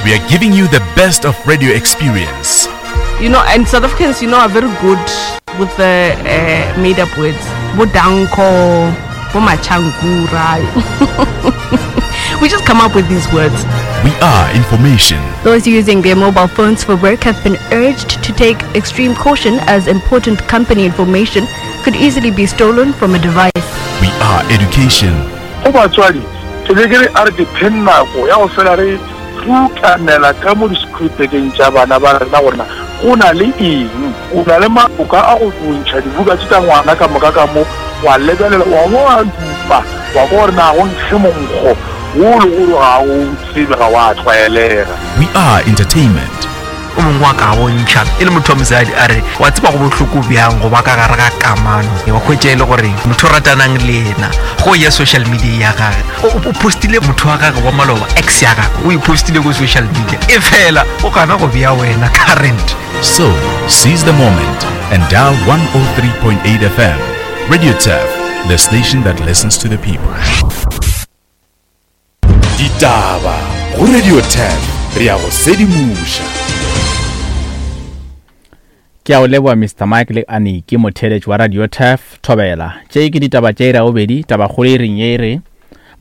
We are giving you the best of radio experience. You know, and South Africans, you know, are very good with the uh, made up words. Bodanko, Bomachankura. we just come up with these words. We are information. Those using their mobile phones for work have been urged to take extreme caution as important company information could easily be stolen from a device. We are education. Go batswadi, ke be ke re a re ke pheng nako ya go fela re rutanela ka mo disekhurupekeng tša bana ba rena gore na go na le eng. O na le maoka a go ntšha dibuka tše tša ngwana ka moka ka mo, wa lebelela, wa bo wa dupa, wa kwa gore na go nkge monkgo wo o lego gore ga o tsebe, ga wa tlwaelega. We are entertainment. O mongwe wa ka bontšha e le motho wa mosadi a re, Wa tseba go bohloko bjang go ba ka gare ga kamano, wa hwetša e le gore motho o ratanang le yena go ya social media ya gage o postile motho wa gage wa maloba, ex ya gage o e postile ko social media, e fela o gana go bea wena current. So, seize the moment and dial 103.8 FM. Radio Turf, the station that listens to the people. Ditaba go Radio 10 re ya go sedimoša. Ke a o leboa Mr Mike le Aniki motheeletši wa Radio Turf Thobela. Tše ke ditaba tša iri ya bobedi, tabakgolo e reng ye e re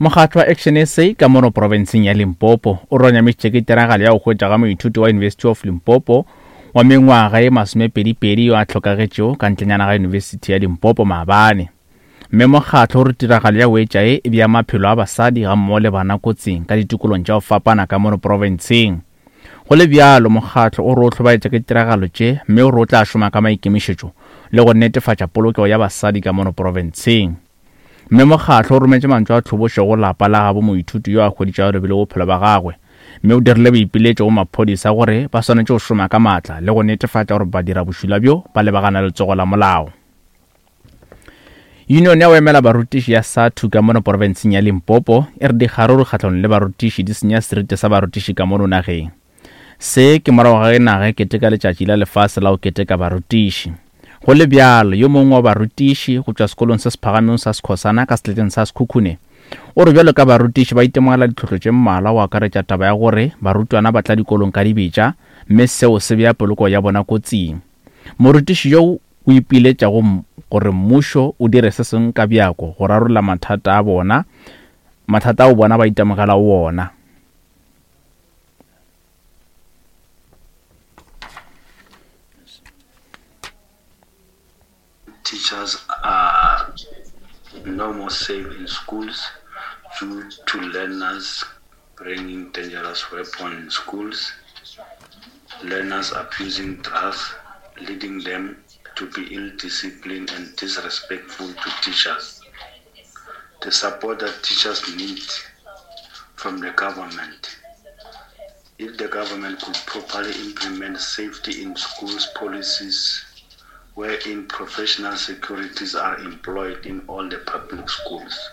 Mokgatlo wa Action SA ka mono profenseng ya Limpopo o ronyamišitše ke tiragalo ya go hwetšwa ga moithuti wa University of Limpopo wa mengwaga ye masomepedipedi yo a hlokagetšego ka ntlenyana ga Yunibesithi ya Limpopo maabane. Mme mokgatlo o re tiragalo ya wetša ye e bea maphelo a basadi gammogo le bana kotsing ka ditikolong tša go fapana ka mono profenseng. Go le bjalo, mokgatlo o re o hlobaetša ke ditiragalo tše mme o re o tla šoma ka maikemišetšo le go netefatša polokego ya basadi ka mono profenseng. Mme mokgatlo o rometše mantšu a tlhobošo go lapa la gabo moithuti yo a hweditšego a lobile bophelo ba gagwe mme o dirile boipiletšo go maphodisa gore ba swanetše go šoma ka maatla le go netefatša gore badirabošula bjo ba lebagana le letsogo la molao. Union ya go emela barutiši ya SATU ka mono porofenseng ya Limpopo e re dikgaruru kgahlano le barutiši di senya seriti sa barutiši ka mono nageng. Se ke morago ga ge naga e keteka letšatši la lefase la go keteka barutiši. Go le bjalo, yo mongwe wa barutiši go tšwa sekolong se se phagamego sa Skhosana ka seleteng sa Sekhukhune o re bjalo ka barutiši ba itemogela ditlhohlo tše mmalwa go akaretša taba ya gore barutwana ba tla dikolong ka dibetša mme seo se bea poloko ya bona kotsing. Morutiši yo o ipiletša go gore mmušo o dire se sengwe ka bjako go rarolla mathata a bona, mathata ao bona ba itemogelago wona. Teachers are no more safe in schools due to learners bringing dangerous weapons in schools, learners abusing drugs, leading them to be ill-disciplined and disrespectful to teachers. The support that teachers need from the government. If the government could properly implement safety in schools policies wherein professional securities are employed in all the public schools.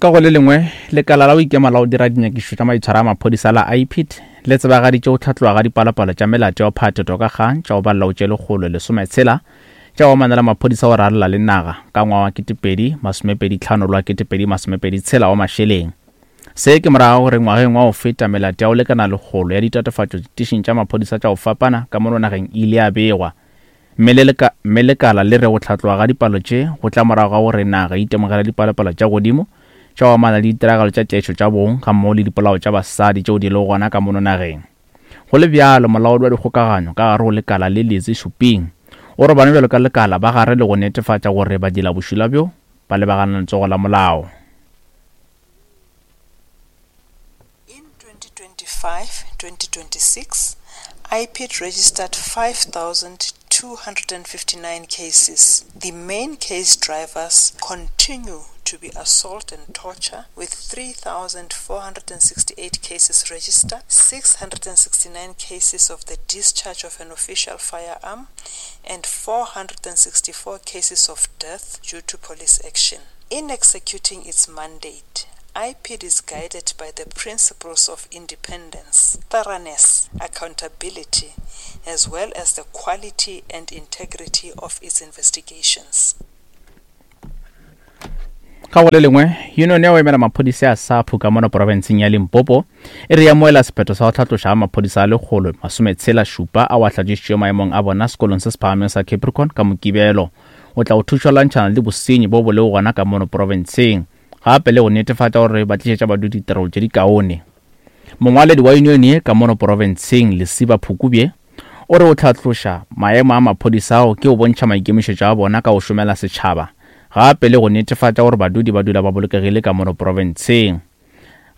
Ka go le lengwe, lekala la go ikema la go dira dinyakišišo tša maitshwaro a maphodisa la IPID le tsebagaditše go hlatloga ga dipalopalo tša melato ya go phatha toka kgang tša go balela go tše lekgolo lesometshela tša go amana le maphodisa go rarela le naga ka ngwaga wa 2025 le wa 2026 wa mašeleng. Se ke morago ga gore ngwageng wa go feta melato ya go lekana lekgolo ya ditatofatšo ditišing tša maphodisa tša go fapana ka mono nageng e ile ya begwa Mme le leka, mme lekala le re go hlatloga ga dipalo tše go tla morago ga gore naga e itemogele dipalopalo tša godimo tša go amana le ditiragalo tša tlaišo tša bong gammogo le dipolao tša basadi tšeo di lego gona ka mono nageng. Go le bjalo, molaodi wa dikgokaganyo ka gare go lekala le Lizzy Shuping o re bona bjalo ka lekala ba gare le go netefatša gore badirabošula bjo ba lebagana le letsogo la molao. In 2025-2026, IPID registered 5,259 cases. The main case drivers continue to be assault and torture, with 3,468 cases registered, 669 cases of the discharge of an official firearm, and 464 cases of death due to police action. In executing its mandate, IPID is guided by the principles of independence, thoroughness, accountability, as well as the quality and integrity of its investigations. Ka go le lengwe, yunione ya go emela maphodisa ya SAPU ka mono profenseng ya Limpopo e re e amoela sephetho sa go hlatloša ga maphodisa a lekgolo masometshela šupa ao a hlatšišitšwego maemong a bona sekolong se se phagamego sa Capricorn ka Mokibelo o tla go thuša go lwantšhana le bosenyi bo bo lego gona ka mono profenseng gape le go netefatša gore ba tlišetša badudi ditirelo tše dikaone. Mongwaledi wa yunione ye ka mono profenseng Lesiba Phukubye o re o hlatloša maemo a maphodisa ao ke go bontšha maikemišetšo a bona ka go šomela setšhaba gape le go netefatša gore badudi ba dula ba bolokegile ka mono profenseng.